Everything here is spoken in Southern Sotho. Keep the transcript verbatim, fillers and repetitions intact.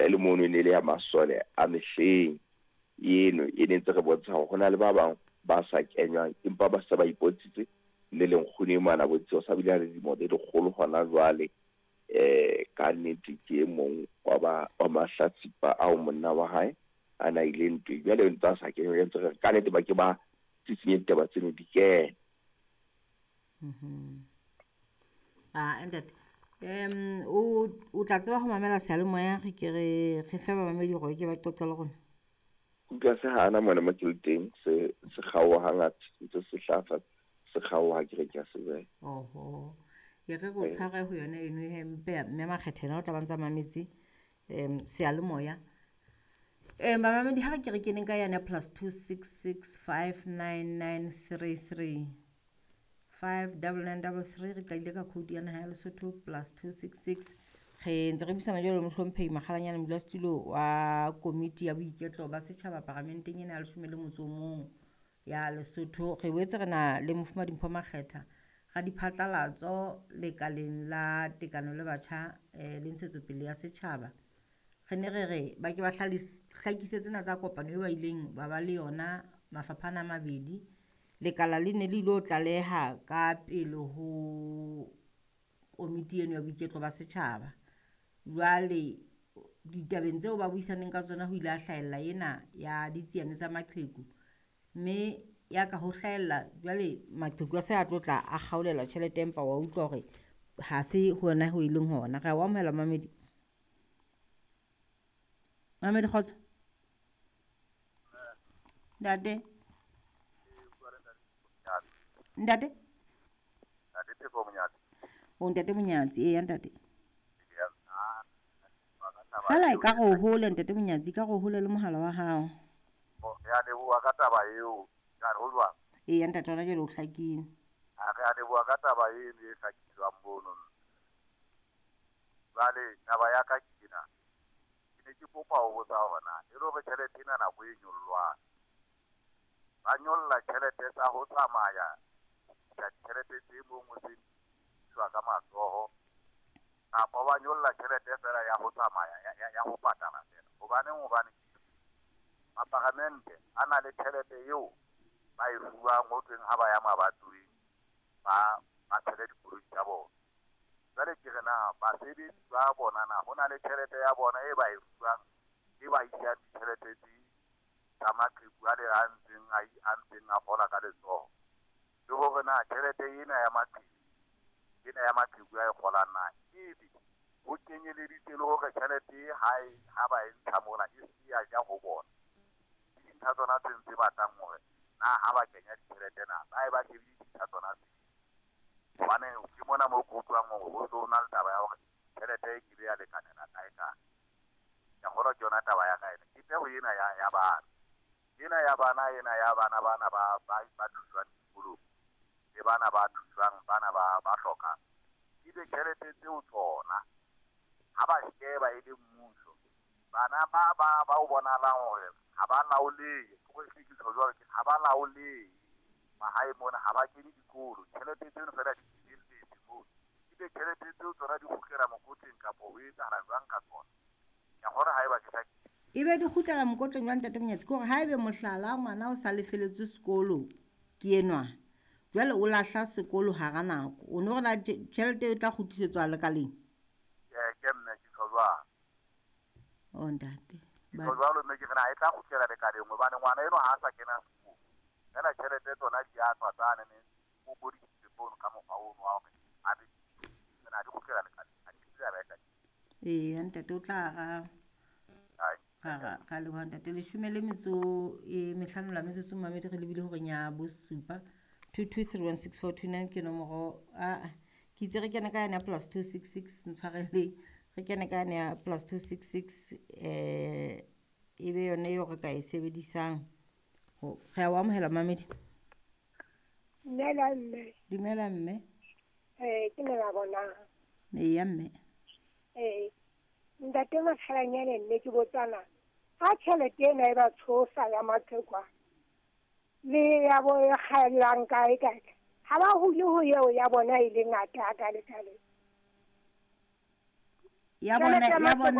fihla e le mono e ne le ya masole a mehleng eno e ne ntse re bontsha hore ho na le ba bang ba sa kenywang empa ba se ba ipontshitse le lenkgono e mona bontshitse o sa bile a le dilemo tse lekgolo hona jwale. Eh ka nnete ke e mong wa ba wa mahlatsipa ao monna wa hae a na ile ntweng, jwale ntse a sa kenywa ntse re ka nnete ba ke ba tsitsinye ditaba tseno di kene. Mhm. Ah ntate, um o o tla tseba ho mamela seyalemoya re ke re re fe bamamedi hore ke ba qoqe le rona. Utlwa se hana mona mo ke le teng se se kgaoha hangata ntse se hlaha se kgaoha ke re ke a se beha. Oho. E re re o tshware ho yona eno he mpe mme Makgetha yena o tla ba ntsa mametse um seyalemoya. Um bamamedi ha re ke re keneng ka yane ya plus two six six five nine nine three three five double nine double three re qadile ka code ya naha ya Lesotho plus two six six. Re ntse re buisana jwalo le mohlomphehi Makgalanyane modulasetulo wa komiti ya boiketlo ba setjhaba paramenteng ena ya leshome le motso o mong ya Lesotho. Re boetse re na le Mofumahadi Mpho Makgetha radiphatlalatso lekaleng la tekano le batjha eh, le ntshetsopele ya setjhaba. Re ne re re ba ke ba hlakise tsena tsa kopano eo ba ileng ba ba le yona mafapha ana a mabedi. Lekala le ne le ilo tlaleha ka pele ho komiti eno ya boiketlo ba setjhaba. Jwale ditabeng tseo ba buisaneng ka tsona ho ile ha hlahella ena ya ditsiane tsa maqheku, mme ya ka ho hlahella jwale maqheku a se a tlo tla a kgaolelwa tjhelete empa wa utlwa hore ha se hona ho e leng hona. Re a o amohela mamedi. Mamedi kgotso. Ntate. Ntate. Ntate Pheko Monyatsi. O ntate Monyatsi, eya ntate. Fela e ka re o hole ntate Monyatsi, ka re o hole le mohala wa hao. Re a leboha ka taba eo. Ka re ho jwang? Eya ntate, hona jwale o hlakile. A re a leboha ka taba eno e hlakiswang mono. Jwale taba ya ka ke ena. Ke ne ke kopa ho botsa hore na e le hore tjhelete ena nako e nyollwang, ba nyolla tjhelete tsa ho tsamaya ditjhelete tse mong o se iswa ka matsoho, kapa ba nyolla tjhelete fela ya ho tsamaya ya, ya, ya ho patala fela. Hobaneng? Hobane maparamente a na le tjhelete eo ba e fuwang ho thweng ha ba ya mabatoweng ba ba tshele dikoloi tsa bona. Jwale ke re na basebetsi ba bona na ho na le tjhelete ya bona e ba e fuwang e ba isang ditjhelete tse tsa maqheku a le a ntseng a a ntseng a kgola ka letsoho, le hore na tjhelete ena ya maqheku ena ya maqheku a e kgolang na ebe ho kenyeleditse le hore tjhelete ha e ha ba e ntsha mona e se ya ja ho bona. Ke dintlha tsona tse ntse batlang hore na ha ba kenya ditjhelete na ba e ba shebile dintlha tsona tse. Hobane ke mona moo ke utlwang hore ho so na le taba ya hore tjhelete e kile ya lekanela kae kae. Ke a kgolwa ke yona taba ya ka ena. Ke peo ena ya ya bana. Ena ya bana ena ya bana bana ba ba ba thuswang dikolong le bana ba thuswang bana ba ba hlokang. Ebe tjhelete tseo tsona ha ba sheba e le mmuso, bana ba ba ba o bonahalang hore ha ba laolehe, ke hore ke tjho jwalo ke ha ba laolehe mahae mona, ha ba kene dikolo, tjhelete tseno fela di felletse moo. Ebe tjhelete tseo tsona di kgutlela mokotleng kapa ho etsahala jwang ka tsona? Ke a kgolwa haeba ke hlakile. Ebe di kgutlela mokotleng jwang ntate Monyatsi? Ke hore haebe mohlala ngwana o sa lefeletswe sekolo ke enwa, jwale o lahla sekolo hara nako, o no re na tjhelete e tla kgutlisetswa lekaleng? Ee, ke mme ke tjho jwalo. Oh ntate. Ke tjho jwalo mme ke re na e tla kgutlela lekaleng hobane ngwana enwa ha a sa kena sekolo. Fela tjhelete tsona di a tswa tsane ne o bodisitse fono ka mokgwa ono wa hore a be na di kgutlela lekaleng. Ha ke tsebe ba e tla. Eya ntate o tla araba. Ra ra ra leboha ntate. Leshome le metso e mehlano la metsotso mamedi re lebile horeng ya bosupa. two two three one six four two nine ke nomoro. A ke itse re kene ka yane ya plus two six six ntshwareleng. Re kene ka yane ya plus two six six eh e be yone eo re ka e sebedisang. Re a o amohela mamedi. Dumela mme. Dumela mme. Eh ke ne la bona. Eya mme. Eh ntate Makgalanyane nne ke botsana ha tjhelete ena e ba tshosa ya maqheku le ya bo e kgaellang kae kae, ha ba hule ho eo ya bona e le ngata ha kalekale. Ya bona ya bona